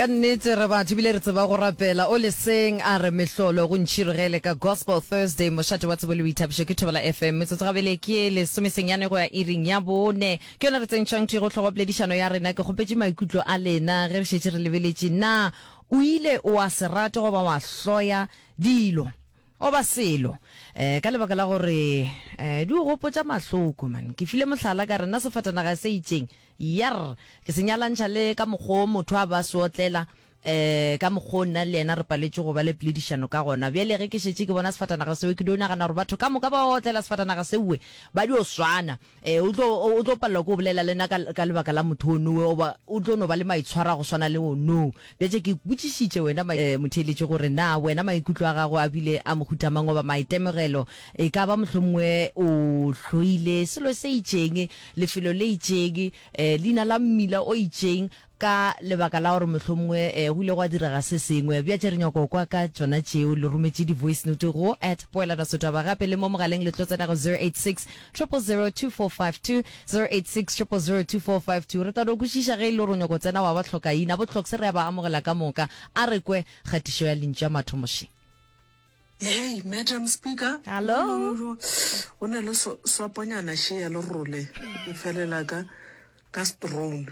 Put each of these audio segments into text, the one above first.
Ka nnete re batho ebile re tseba go rapela. O leseng a re mehlolo go ntšhirogele ka Gospel Thursday mošate wa tsebo le boithabišo ke Thobela FM. Metsotso gabele ke lesomesenyane go ya iring ya bone. Ke yona re tsentšhang thwi go hlogo poledišano ya rena. Ke kgopetše maikutlo a lena ge re šetše re lebeletše na o ile wa se rate goba wa hloya dilo goba selo um ka lebaka la gore um di o gopotša mahloko man. Ke file mohlala ka re nna sefatanaga se itšeng Yerr! Ke se nyalantšha le ka mokgo motho a ba se otlela, eh, ka mokgo nna le yena re paletšwe go ba le poledišano ka gona. Bjale ge ke šetše ke bona sefatanaga seo, ke dio nagana gore batho ka moka ba otlela sefatanaga seowe ba dio swana. Eh, o tlo, o tlo palelwa ke go bolela le nna ka, ka lebaka la motho onowe, goba o tlo no ba le maitshwaro a go swana le onoo. Bjatše ke botšišitše wena, eh, motheeletši gore na wena maikutlo a gago a bile a mohuta mang goba maitemogelo, e ka ba mohlomongwe o hloile selo se itšeng, lefelo le itšeng, leina la mmila o itšeng, ka lebaka la gore mohlomongwe go ile gwa direga se sengwe. Bjatše re nyaka go kwa ka tšona tšeo. Le rometše di-voice note go at Poelano Setwaba gape le mo mogaleng le tlo tsena go 086 000 2452, 086 000 2452. Re tla no kwešiša ge e le gore o nyaka go tsena wa ba hlokaina. Bo Hloks re a ba amogela ka moka. A re kwe kgatišo ya lentšu ya mathomo še. Hey, Madam Speaker. Hello. O na le swaponyana še ya lerole e felela ka ka strone.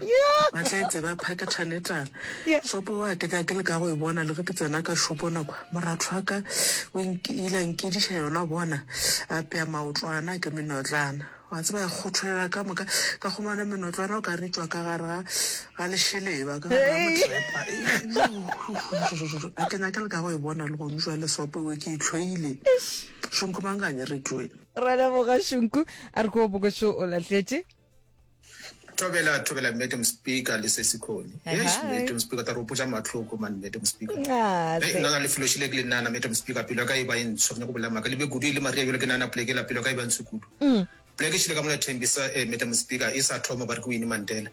Ba tla e tseba phakethane tala. Swapo wa ke ka ke le ka go e bona le ge ke tsena ka shopo nako. Moratho wa ka o ile a nkediša yona bona a pea maotlwana ke menotlana. Wa tseba ya kgotholela ka moka ka humana menotlwana o ka re tšwa ka gare ga ga lešeleba ka gare ga motrepa. A ke nyake le ka go e bona le gone jwale sopo ewe ke e hloile. Šunku manganye re tšwe. Ra leboga Šunku. A re ko bokošo o lahletše. Thobela thobela Madam Speaker le Sesi Khoni. Eish Madam Speaker ta re opotša mahloko man Madam Speaker. Hei nna na lefelo šile ke le nana Madam Speaker pelo ya ka e ba e ntsho re nyako bolela maaka le be kudu e le Maria bjalo ke nana pleke la pelo ya ka e ba ntsho kudu. Pleke šile ka mola Thembisa eh Madam Speaker e sa thoma ba re ke Winnie Mandela.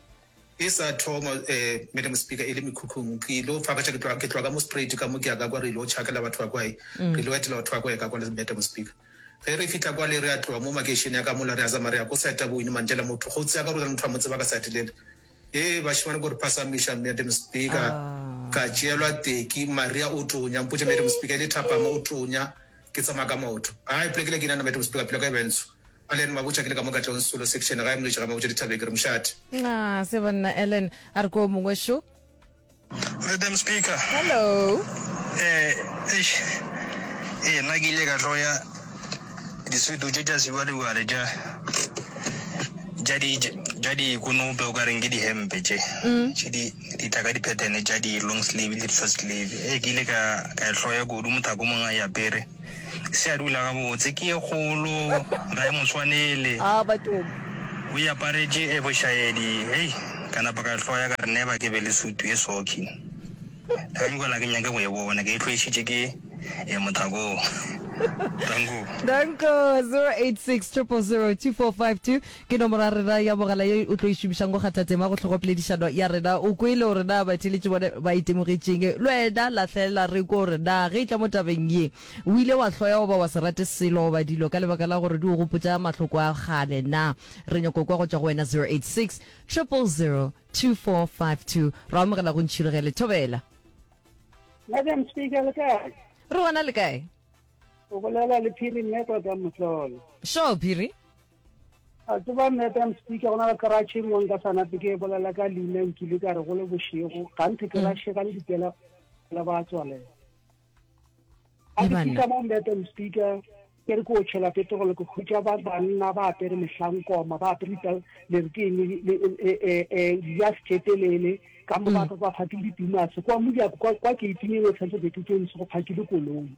E sa thoma eh Madam Speaker e le mekhukhung ke ilo fakaša ke tloga ke tloga ka mo Spruit ka mo ke ya ka kwa re ilo tšhakela batho ba kwa e re ilo etela batho ba kwa e ka kwa le Madam Speaker. Ge re fihla kwale re a tloga mo makeišene ya ka mola re a zama re ya ko site ya bo Winnie Mandela motho go tsea ka gore motho a mo tseba ka site lela. Hee bašemane ko re phasamiša Madam Speaker ka tšeelwa teki Maria o tonya mpotše Madam Speaker e le thapama o tonya ke tsamaya ka maoto. Hai poleke le ke nana Madam Speaker pelo ya ka e ba e ntsho. Ellen Mabotja ke le ka mo Katlehong Solo section gae Moletši ga Mabotja dithabeng ke re mošate. Nxa se banna Ellen a re ko mongwe šo. Madam Speaker. Hello. Eh, eish. Eh, nna ke ile ka hloya disutu tše tša sebjalebjale tša tša di tša dikonope o ka reng ke dihempe tše mm. tše di di tla ka di-pattern tša di-long sleeve le di-short sleeve ee ke ile ka ka e hloya kudu mothako mongwe a e apere se a dula gabotse ke ye kgolo ga e mo tshwanele Ah, bathong. o e aparetše e bošaedi hei ka napa ka hloya ka re never ke be le sutu e soki ga nkwela ke nyake go e bona ke e hloišitše ke e mothako danko Danko 086 000 2452 ke nomoro ya rena ya mogala ye o tlo e šomišang go kgatha tema go hlogopoledišano ya rena. O kwele gore na batheeletši bone ba itemogetšeng. Le wena lahlela re kwe gore na ge e tla mo tabeng ye o ile wa hloya goba wa se rate selo goba dilo ka lebaka la gore di o gopotša mahloko a kgale na. Re nyako kwa go tšwa go wena 086 000 2452. Ra amogela go Ntšhirogele. Thobela. Madam Speaker, le kae? Re gona le kae? O bolela le Phiri Mmekwa ka Mohlolo. Sure, Phiri. A tseba Madam Speaker, go na le garage e nngwe nka sa nape ke e bolela ka leina nkile ka re go le bošego ganthe ke rašega le dipela la ba tswalela. A ke fihla mo Madam Speaker ke re ke o tšhela petrol ke hwetša ba banna ba apere mehlankoma ba apere le re ke eng dijase tše telele ka mo ba ba phakile ditumase kwa mojako kwa kwa gate-ing e nngwe tshwanetse gate tše ntsho go phakile koloi.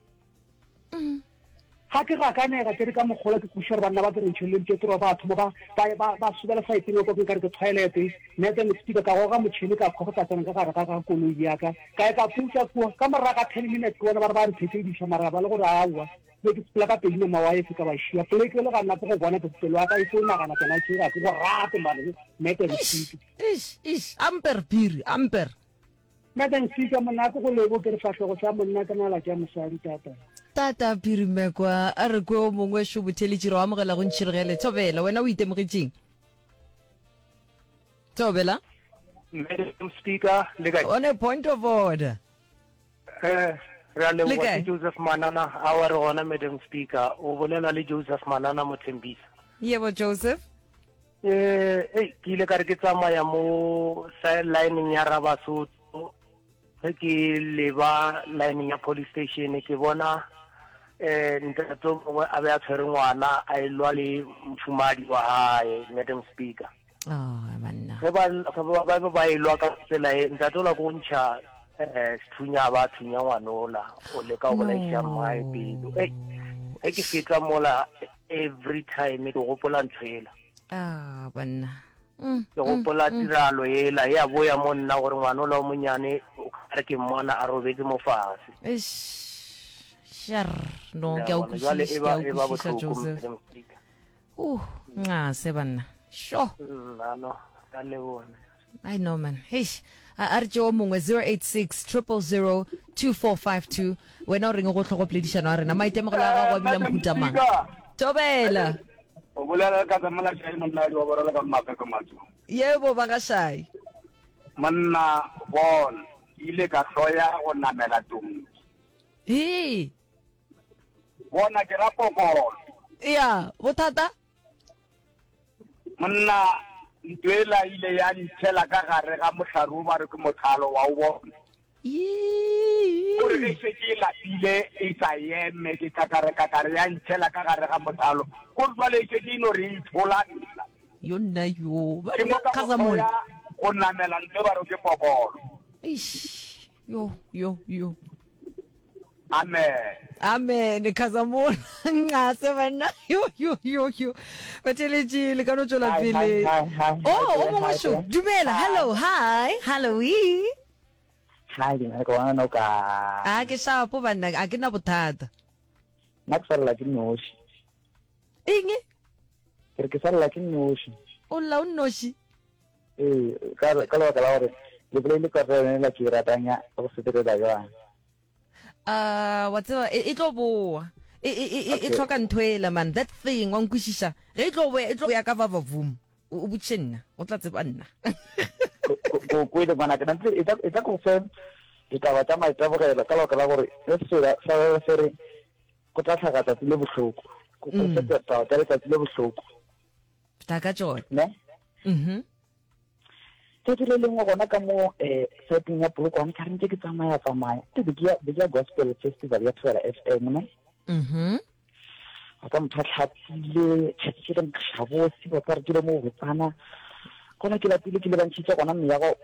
Ga ke gakanega, ke re ka mokgola ke kwešiša gore banna ba ke re ntšheleleng petro ba thoma ba ba ba ba sobela saeteng ya kwa ke nkare ke toilet Madam Speaker ka goga motšhene ka kgwa go tla tsena ka gare ga ga koloi ya ka ka ya ka putsa kua ka morago ga 10 minutes ke bona ba re ba mphetlediša mara ba le gore aowa be ke sepela ka pedi nama wa efe ka ba šia poleke le ga nna ke go bona ke pelo ya ka e tlo nagana tsona tše ga ke go rate mane Madam Speaker. Eish, eish, amper phiri, amper. Madam Speaker, monate go lebo ke re fahlogo sa monna ke nala tša mosadi tata. Tata Phirimekwa, a re kwe o mongwe šo botheletši re o amogela go Ntšhirogele. Thobela, wena o itemogetšeng? Thobela. Madam Speaker, le kae? On a point of order. Eh, re a leboga ke Joseph Manana, awa re gona Madam Speaker, o bolela le Joseph Manana Mothembisa. Yebo Joseph. Eh, ei, ke ile ka re ke tsamaya mo lineng ya Rabasotho, ge ke leba lineng ya police station ke bona eh ntate o mongwe a be a tshwere ngwana a elwa le mofumadi wa hae Madam Speaker. Oh, banna. Ge ba ba ba ba elwa ka tsela e ntate ola ko ntšha eh sethunya ba thunya ngwanola o leka go bolaisa mmae pelo. Ei, ge ke feta mola every time ke gopola ntho ela. Ah, banna. Mm, Ke gopola tiralo ela ya boya mo nna gore ngwanola o monyane o ka re ke mmona a robetse mo fase. Eish. Sharr. No, Le ke a a o bona, jwale kwešiša, e ke a ba o e ba kwešiša bohloko Joseph. Madam Speaker. Uh, nxase banna. Sho. Nna no, ka leboga. I know man. Eish. A a re tše o mongwe 086 000 2452. Wena o reng go hlogo poledišano ya rena? Maitemogelo a gago a bile Madam mohuta mang? Speaker. Thobela. O bolela ka tsa Molašai monna wa borela ka Mmapepe Matso. Yebo ba ga Shai. Monna bona, ke ile ka hloya go namela tonki. Hee. Bona ke ra pokolo. Ya, bothata? Monna, ntho ela ile ya ntšhela ka gare ga mohlare o ba re ke mothalo wa o bona. Yee. O re ge šetše e lapile e sa eme ke kakare kakare ya ntšhela ka gare ga mothalo. Ko re jwale e šetše e no re e itshola nna. Yo nna yo. Ke mo ka go Khazamola. hloya go namela ntho e ba re ke pokolo. Eish. Yo yo yo. Amen. Amen Khazamola nxase banna yo yo yo yo batheletši le ka no tšwela Hi, hi, pele hi, hi, oh hi, o mongwe hi, šo hi. dumela hello hi hello e Hi, ke nyaka go bona o ka. a ke shapo banna a ke na bothata Nna ke salela ke noši. eng Ke re ke salela ke noši. o lla o nnoši Ee, ka ka lebaka la gore le bolaile karolo yone la ke e ratang ya go sepelela jwang. A wa tseba e, e tlo boa. E, e, e, e, e hloka ntho ela man, that thing, wa nkwešiša. Ge e tlo boya, e tlo boya ka vava voom. O, o botšiše nna, o tla tseba nna. Ko kwele ngwanaka, nante e tla, e tla ko fe ditaba tša maitemogelo ka lebaka la gore se sela sa se re go tla hlaga tsatsi le bohloko. Ko fe ditaba tša letsatsi le bohloko. Tla ka tšona. Ne? Mhm. Tšatši le lengwe gona ka mo um saeteng ya Polokwane ka re ntse ke tsamaya tsamaya ke be ke ya be ke ya gospel festival ya Thobela FM ne. Mhm. Wa ka motho a tlhapile tšatši ke le nkgabose wa ka re ke le mo botsana gona ke lapile ke lebantšhitše gona meago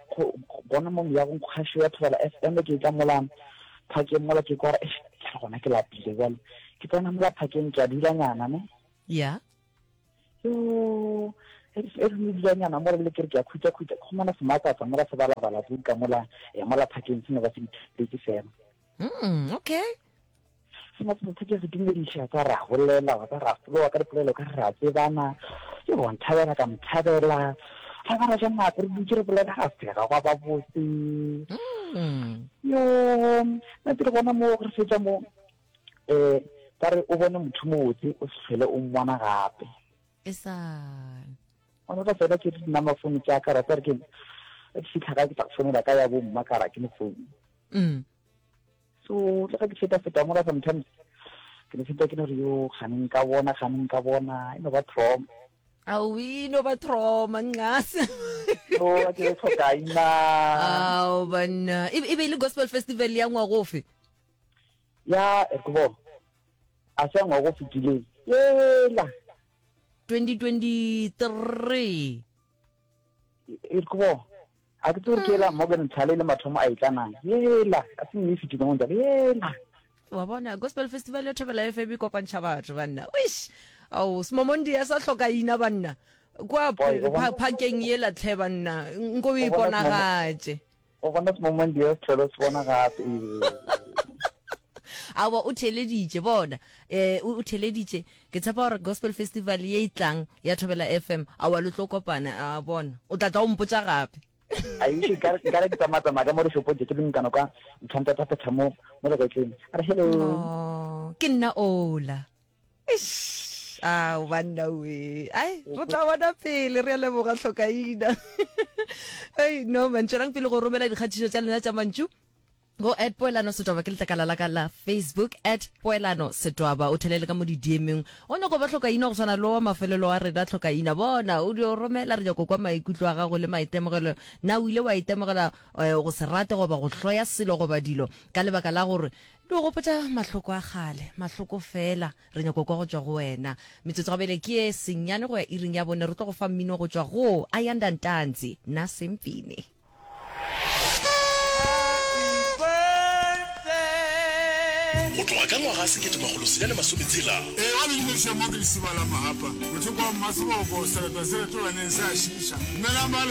gona mo meagong kgašo ya Thobela FM ke tla mola phakeng mola ke kwa ke re gona ke lapile jwale ke tsena mola phakeng ke a dulanyana ne. Yeah. Yo, e re ne dulanyana mo re le ke re ke a khutša khutša, ke khumana sematsatsa mola se balabala buka mola ya mola phakeng se ne ba se ithutetse fela. Okay. Sematsatsa ke se dumediša tsa ra bolela wa tsa ra folowa ka dipolelo ka re ra tsebana. Ke wa nthabela ka mthabela. Ga ba ra ja nako re dutše re bolela ga sega gwa ba botse. Yo, nna ke re gona mo re fetša mo um ba re o bone motho mobotse o se hlwele o mmona gape. E sa. Gona ka fela ke di nama phone tša ka rata re ke ke fitlha ka ke tla go founela ka ya bo mma ka ra ke ne phone. So le ga ke feta feta mola sometimes ke ne feta ke no re yo gane nka bona gane nka bona e no ba trauma. Aowi no ba trauma nxase. No ke tlhoka ina. Ao banna e be e le gospel festival ya ngwago ofe? Ya, e ke bona. A se ya ngwaga o fetileng. Yela. 2023. E ke bona. A ke tsebe gore ke yela Morgan Tlhale le mathomo a e tla na. Yela, a se nne e fetileng jalo. Yela. Wa bona, Gospel Festival ya Thobela FM e kopantšha batho banna. Wish. Ao, Smomondi ya sa hloka ina banna. Kwa phakeng yela tlhe banna. Nko o iponagatše. O bona Smomondi ya se tlhole se bona gape. Aowa o theeleditše bona eh o theeleditše ke tshepa gore gospel festival ye e tlang ya Thobela FM aowa le tlo kopana a bona o tla tla o mpotša gape. Aiši nkare ke tsamaya tsamaya ka mo dishopong tše ke le nkano ka nthwantsa tsa phetha mo mo legetleng a re hello. Oh, ke nna ola. Eish. Eish, ao banna we. Ai, re tla bona pele, re a leboga Hlokaina. Ei, no man, tšwelang pele go romela dikgatišo tša lena tša mantšu go at Poelano Setwaba ke letlakala la ka la Facebook at Poelano Setwaba o thelele ka mo di-DM-eng o nyako ba Hlokaina go swana le wa mafelelo wa rena Hlokaina bona o dio romela re nyako kwa maikutlo a gago le maitemogelo na o ile wa itemogela eh, go se rate goba go hloya selo goba dilo ka lebaka la gore Di go gopotša mahloko a kgale, mahloko fela. Re nyako kwa go tšwa go wena. Metsotso gabele ke ye senyane go ya iring ya bone. Re tlo go fa mmino go tšwa go Ayanda Ntanzi, Na Sempini. Go tloga ka ngwaga 1960. Ee, ba le dumediša mo ke Lesiba la Mahapa, mothoko wa Mmaseboko, sereto se retolwaneng se a šiiša. Dumelang ba.